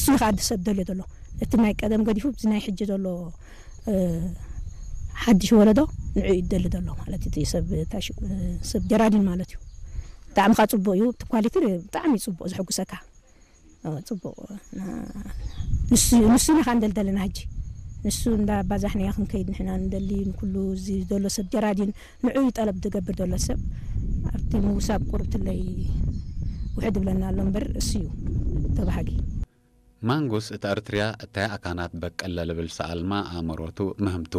እሱ ከዓ ሰብ ደልዮ ዘሎ፣ እቲ ናይ ቀደም ገዲፉ እዚ ናይ ሕጂ ዘሎ ሓድሽ ወለዶ ንዑ ይደሊ ዘሎ ማለት እቲ ሰብ ሰብ ጀራዲን ማለት እዩ። ብጣዕሚ ከዓ ፅቡቅ እዩ። እቲ ኳሊቲ ብጣዕሚ ፅቡቅ፣ ዝሕጉሰካ። ፅቡቅ። ንሱ ኢና ከ እንደልደለና ሕጂ ንሱ እንዳባዛሕናዮ ክንከይድ ንሕና ንደሊ። ንኩሉ እዚ ዘሎ ሰብ ጀራዲን ንዑ ጠለብ ዝገብር ዘሎ ሰብ ኣብቲ ምውሳብ ቁርብትለይ ውሕድ ብለና ኣሎ እምበር እሱ እዩ ተባሃጊ። ማንጉስ እት ኣርትርያ እታይ ኣካናት በቅል ለልብል ሰኣልማ ኣእምሮቱ ምህምቱ።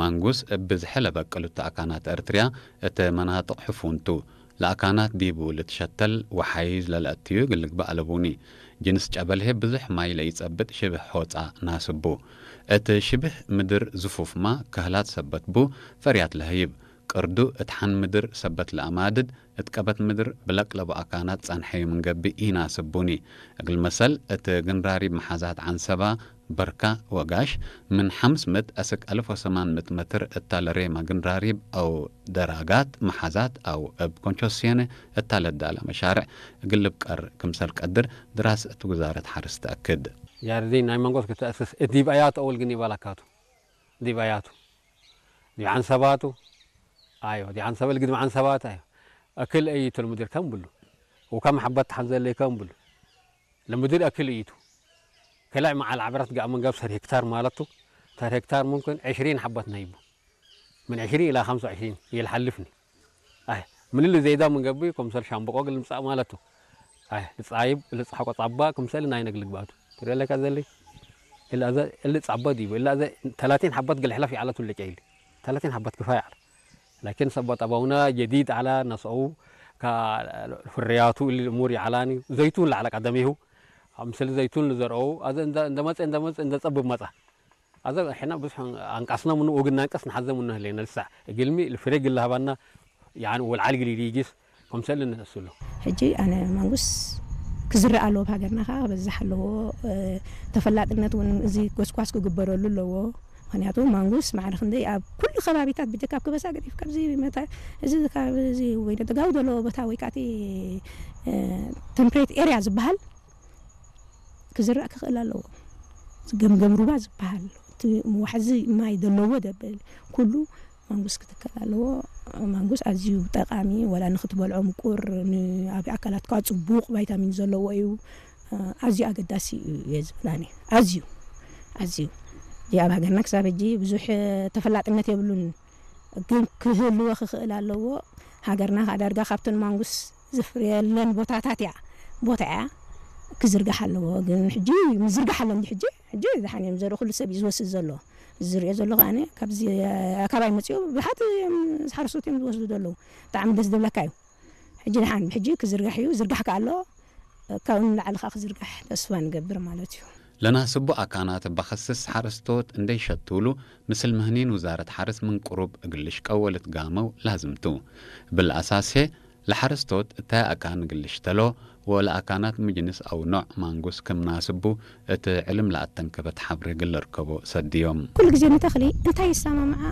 ማንጉስ እብ ብዝሐ ለበቅሉት ኣካናት ኣርትርያ እት መናጥቕ ሕፉንቱ። ለኣካናት ዲቡ ልትሸተል ወሓይዝ ለልአትዩ ግልግባእ ለቡኒ። ጅንስ ጨበልሄ ብዙሕ ማይ ለኢጸብጥ ሽብህ ሖጻ ናስቡ። እት ሽብህ ምድር ዝፉፍማ ከህላት ሰበት ቡ ፈርያት ለህይብ። ቅርዱ እት ሐን ምድር ሰበት ለኣማድድ እት ቀበት ምድር ብለቅለቡ ኣካናት ጸንሐዩ ምንገብእ ኢናስቡኒ። እግል መሰል እት ግንራሪብ መሓዛት ዓንሰባ በርካ ወጋሽ ምን ሐምስ ምእት እስክ አልፍ ወሰማን ምእት መትር እታ ለሬማ ግንራሪብ አው ደራጋት መሓዛት አው እብ ኮንቾስዮነ እታ ለዳለ መሻርዕ እግል ልብቀር ክምሰል ቀድር ድራስ እት ውዛረት ሓርስ ተአክድ። ያርዲን ናይ መንጎት ክተእስስ እዲብ አያቱ አውል ግን ይባላካቱ ዲብ አያቱ ዲብ ዓንሰባቱ ኣዮ ዲብ ዓንሰበል ግድም ዓንሰባት ኣዮ። እክል እይቱ ለምድር ከም ብሉ ውካም ሐበት ተሐንዘለይ ከም ብሉ ለምድር እክል እይቱ። ከላይ መዓል ዓብራት ጋእ መንገብ ሰር ሄክታር ማለቱ ሰር ሄክታር ሙምክን ዕሽሪን ሐበት ናይቡ ምን ዕሽሪን ኢላ ኸምሳ ዕሽሪን የልሓልፍኒ። ኣይ ምልል ዘይዳ ምንገብይ ኮምሰል ሻምበቆ ግል ምጻእ ማለቱ። ኣይ ልጻይብ ልጽሓቆ ጻባ ክምሰል ናይ ነግልግባቱ ትረለካ ዘሊ እላ ዘ እሊ ጻባ ዲቡ እላ ዘ ተላቲን ሐባት ግል ሕላፍ ይዓለቱ ልጨይሊ ተላቲን ሐባት ክፋይ ዓለ። ላኪን ሰባ ጠባውና ጀዲድ ዓላ ነስአው ካ ፍርያቱ እሊ እሙር ይዓላኒ ዘይቱን ለዓለ ቀደሚሁ። ከምሰል ዘይቱን ልዘርአው ኣዘ እንደ መጸ እንደ መጸ እንደ ጸብብ መጻ። ኣዘ ሕና ብዙሕ ኣንቃስና ምኑ ወግና ኣንቀስ ንሓዘ ምኑ ህለና ልሳዕ እግልሚ ልፍሬ ግል ሃባና። ያን ወልዓል ግል ይዲጊስ ከምሰል ንእስሉ። ሕጂ ኣነ ማንጉስ ክዝረእ ኣለዎ፣ ኣብ ሃገርና ከዓ ክበዝሕ ኣለዎ። ተፈላጥነት እውን እዚ ጎስኳስ ክግበረሉ ኣለዎ። ምክንያቱ ማንጉስ ማዕረ ክንደይ ኣብ ኩሉ ከባቢታት ብጀካ ኣብ ከበሳ ገዲፍ ካብዚ መታ እዚ ካብ እዚ ወይ ደጋዊ ዘለዎ ቦታ ወይ ከዓ እቲ ተምፕሬት ኤርያ ዝበሃል ክዝራእ ክኽእል ኣለዎ። ገምገም ሩባ ዝበሃል እቲ ዋሕዚ ማይ ዘለዎ ደብል ኩሉ ማንጉስ ክትከል ኣለዎ። ማንጉስ ኣዝዩ ጠቃሚ ወላ ንክትበልዖ ምቁር ንኣብ ኣካላትካ ጽቡቅ ቫይታሚን ዘለዎ እዩ። ኣዝዩ ኣገዳሲ እዩ እየ ዝብል ኣነ። ኣዝዩ ኣዝዩ እዚ ኣብ ሃገርና ክሳብ ሕጂ ብዙሕ ተፈላጥነት የብሉን። ግን ክህልዎ ክኽእል ኣለዎ። ሃገርና ከዓ ዳርጋ ካብተን ማንጉስ ዝፍርየለን ቦታታት እያ ቦታ እያ ክዝርጋሕ ኣለዎ። ግን ሕጂ ምዝርጋሕ ኣሎ እንዲ ሕጂ ሕጂ ዝሓን እዮም ዘርኢ ኩሉ ሰብ እዩ ዝወስድ ዘሎ። ዝሪኦ ዘሎ ከዓኒ ካብዚ ኣካባቢ መፅኡ ብዙሓት እዮም ሓረስቶት እዮም ዝወስዱ ዘለዉ። ብጣዕሚ ደስ ዝብለካ እዩ። ሕጂ ድሓን ሕጂ ክዝርጋሕ እዩ ዝርጋሕ ከኣሎ ካብኡ ንላዕሊ ከዓ ክዝርጋሕ ተስፋ ንገብር ማለት እዩ። ለናስቡ ኣካናት ባኸስስ ሓረስቶት እንደይሸትውሉ ምስል ምህኒን ውዛረት ሓርስ ምን ቅሩብ እግል ልሽቀው ወልትጋመው ላዝምቱ። እብል ኣሳሴ ለሓረስቶት እታይ ኣካን እግል ልሽተሎ ወለኣካናት ምጅንስ ኣው ኖዕ ማንጉስ ክም ናስቡ እት ዕልም ለኣተንከበት ሓብሬ እግል ልርከቦ ሰድዮም። ኩሉ ግዜ ንተኽሊ እንታይ ይሰማምዓ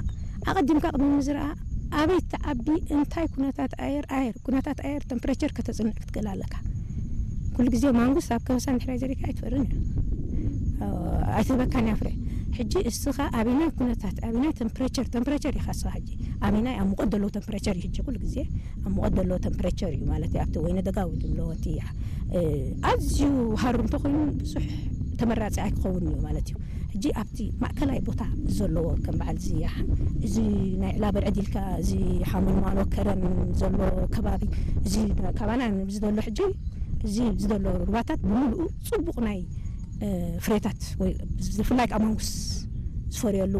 ኣቐዲምካ ቅድሚ ምዝርኣ ኣበይ ትዓቢ እንታይ ኩነታት ኣየር ኣየር ኩነታት ኣየር ተምፕሬቸር ከተጽንዕ ክትክእል ኣለካ። ኩሉ ግዜ ማንጉስ ኣብ ከበሳ እንድሕር ዘሪካ ኣይትፈርን እያ ኣይትህበካን እያ ፍረ። ሕጂ እስኻ ኣበይናይ ኩነታት ኣበይናይ ተምፕሬቸር ተምፕሬቸር ኢኻ እስኻ ሕጂ ኣበይናይ ኣብ ሙቐት ዘለዎ ተምፕሬቸር እዩ ሕጂ ኩሉ ግዜ ኣብ ሙቐት ዘለዎ ተምፕሬቸር እዩ ማለት እዩ ኣብቲ ወይነ ደጋዊ ዝብለዎ እቲ ኣዝዩ ሃሩ እንተኮይኑ ብዙሕ ተመራፂ ኣይክኸውን እዩ ማለት እዩ። ሕጂ ኣብቲ ማእከላይ ቦታ ዘለዎ ከም በዓል እዚ እዚ ናይ ዕላበል ዕዲልካ እዚ ሓመልማሎ ከረን ዘሎ ከባቢ እዚ ካባና እዚ ዘሎ ሕጂ እዚ ዘሎ ሩባታት ብምሉኡ ፅቡቕ ናይ ፍሬታት ወይ ብፍላይ ከዓ ማንጉስ ዝፈርየሉ